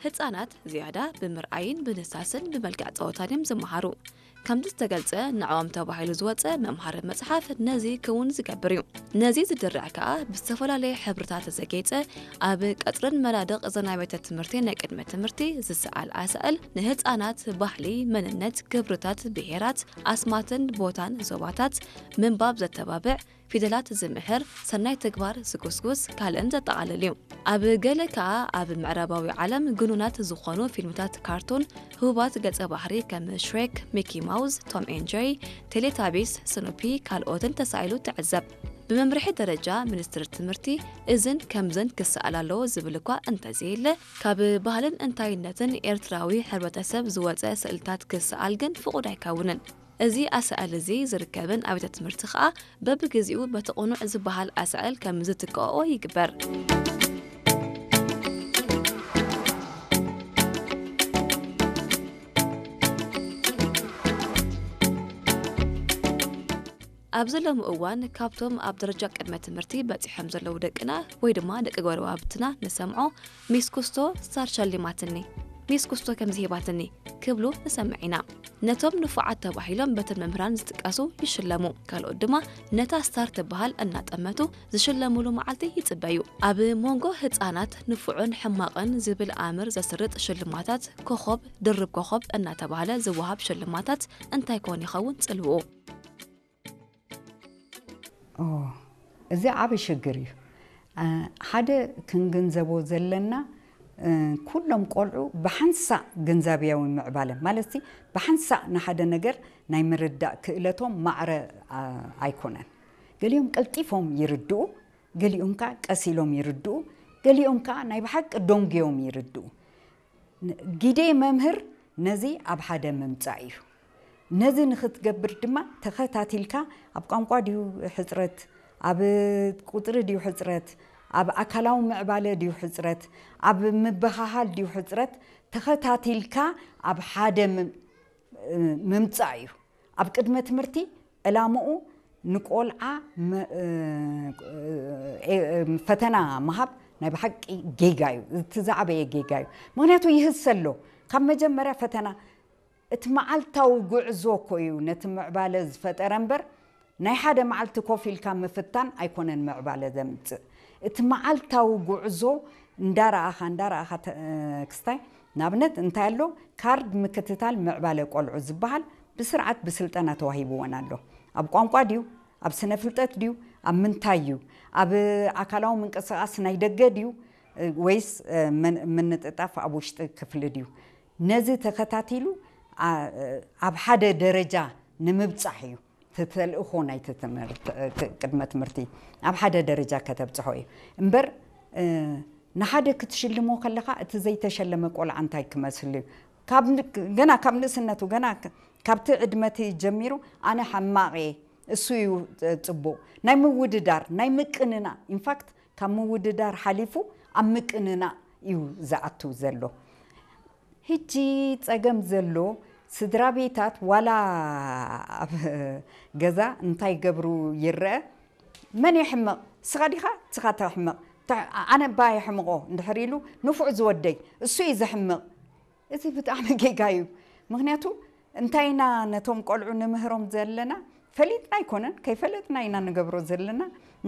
ህጻናት ዝያዳ ብምርኣይን ብንሳስን ብመልክዕ ጸወታን እዮም ዝመሃሩ። ከምዚ ዝተገልጸ ንዕኦም ተባሂሉ ዝወጸ መምሃሪ መጽሓፍ ነዚ ክውን ዝገብር እዩ። ነዚ ዝድርዕ ከኣ ብዝተፈላለየ ሕብርታት ዘጌጸ ኣብ ቀጽርን መናድቕ እዘን ኣብያተ ትምህርቲ ናይ ቅድመ ትምህርቲ ዝሰኣል ኣሳእል ንህጻናት ባህሊ፣ መንነት፣ ክብርታት፣ ብሄራት፣ ኣስማትን ቦታን ዞባታት ምንባብ ዘተባብዕ ፊደላት ዝምህር፣ ሰናይ ተግባር ዝጉስጉስ ካልእን ዘጠቓልል እዩ። ኣብ ገለ ከኣ ኣብ ምዕራባዊ ዓለም ግኑናት ዝኾኑ ፊልምታት ካርቱን ህቡባት ገጸ ባህሪ ከም ሽሬክ፣ ሚኪ ማውዝ፣ ቶም ኤን ጀሪ፣ ቴሌታቢስ፣ ስኑፒ ካልኦትን ተሳኢሉ ትዕዘብ። ብመምርሒ ደረጃ ሚኒስትሪ ትምህርቲ እዝን ከምዝን ክሰኣል ኣለዎ ዝብል እኳ እንተዘየለ ካብ ባህልን እንታይነትን ኤርትራዊ ሕብረተሰብ ዝወጸ ስእልታት ክሰኣል ግን ፍቑድ ኣይከውንን። እዚ ኣሳእል እዚ ዝርከበን ኣብያተ ትምህርቲ ከኣ በብግዜኡ በቲ ቅኑዕ ዝበሃል ኣሳእል ከም ዝትክኦኦ ይግበር። ኣብዚ ሎሚ እዋን ካብቶም ኣብ ደረጃ ቅድመ ትምህርቲ በጺሖም ዘለዉ ደቅና ወይ ድማ ደቂ ጎረባብትና ንሰምዖ ሚስ ኩስቶ ስታር ሸሊማትኒ፣ ሚስ ኩስቶ ከምዚ ሂባትኒ ክብሉ ንሰምዕ ኢና። ነቶም ንፉዓት ተባሂሎም በተን መምህራን ዝጥቀሱ ይሽለሙ፣ ካልኦት ድማ ነታ ስታር ትበሃል እናጠመቱ ዝሽለሙሉ መዓልቲ ይጽበዩ። ኣብ መንጎ ህጻናት ንፉዕን ሕማቕን ዝብል ኣምር ዘስርጥ ሽልማታት ኮኾብ፣ ድርብ ኮኾብ እናተባህለ ዝወሃብ ሽልማታት እንታይ ኮን ይኸውን ጽልውኡ? እዚ ዓቢ ሽግር እዩ። ሓደ ክንግንዘቦ ዘለና ኩሎም ቆልዑ ብሓንሳእ ግንዛብያዊ ምዕባለ ማለት ብሓንሳእ ንሓደ ነገር ናይ ምርዳእ ክእለቶም ማዕረ ኣይኮነን። ገሊኦም ቀልጢፎም ይርድኡ፣ ገሊኦም ከዓ ቀስ ኢሎም ይርድኡ፣ ገሊኦም ከዓ ናይ ብሓቂ ደንጉዮም ይርድኡ። ግደ መምህር ነዚ ኣብ ሓደ ምምፃእ እዩ። ነዚ ንክትገብር ድማ ተኸታቲልካ ኣብ ቋንቋ ድዩ ሕፅረት፣ ኣብ ቁፅሪ ድዩ ሕፅረት፣ ኣብ ኣካላዊ ምዕባለ ድዩ ሕፅረት፣ ኣብ ምብሃሃል ድዩ ሕፅረት፣ ተኸታቲልካ ኣብ ሓደ ምምፃእ እዩ። ኣብ ቅድመ ትምህርቲ ዕላምኡ ንቆልዓ ፈተና ምሃብ ናይ ብሓቂ ጌጋ እዩ። እቲ ዝዓበየ ጌጋ እዩ። ምክንያቱ ይህሰ ኣሎ። ካብ መጀመርያ ፈተና እቲ መዓልታዊ ጉዕዞ እኮ እዩ ነቲ ምዕባለ ዝፈጠረ እምበር ናይ ሓደ መዓልቲ ኮፍ ኢልካ ምፍታን ኣይኮነን ምዕባለ ዘምፅእ። እቲ መዓልታዊ ጉዕዞ እንዳረኣኻ እንዳረኣኻ ክስታይ ንኣብነት እንታይ ኣሎ ካርድ ምክትታል ምዕባለ ቆልዑ ዝበሃል ብስርዓት ብስልጠና ተዋሂብወን ኣሎ። ኣብ ቋንቋ ድዩ፣ ኣብ ስነ ፍልጠት ድዩ፣ ኣብ ምንታይ እዩ፣ ኣብ ኣካላዊ ምንቅስቃስ ናይ ደገ ድዩ ወይስ ምንጥጣፍ ኣብ ውሽጢ ክፍሊ ድዩ? ነዚ ተኸታቲሉ ኣብ ሓደ ደረጃ ንምብፃሕ እዩ ተልእኾ ናይቲ ቅድመ ትምህርቲ ኣብ ሓደ ደረጃ ከተብፅሖ እዩ እምበር ንሓደ ክትሽልሞ ከለኻ እቲ ዘይተሸለመ ቆልዓ እንታይ ክመስል እዩ? ገና ካብ ንእስነቱ ገና ካብቲ ዕድመቲ ጀሚሩ ኣነ ሓማቕ እየ እሱ እዩ ፅቡቕ ናይ ምውድዳር ናይ ምቅንና ኢንፋክት ካብ ምውድዳር ሓሊፉ ኣብ ምቅንና እዩ ዝኣቱ ዘሎ። ሕጂ ጸገም ዘሎ ስድራ ቤታት ዋላ ኣብ ገዛ እንታይ ገብሩ ይረአ መን ይሕምቕ ስኻ ዲኻ ስኻ ተሕምቕ ኣነ ባ የሕምቖ እንድሕር ኢሉ ንፉዕ ዝወደይ እሱ እዩ ዘሕምቕ እዚ ብጣዕሚ ጌጋ እዩ ምክንያቱ እንታይ ኢና ነቶም ቆልዑ ንምህሮም ዘለና ፈሊጥና ኣይኮነን ከይፈለጥና ኢና ንገብሮ ዘለና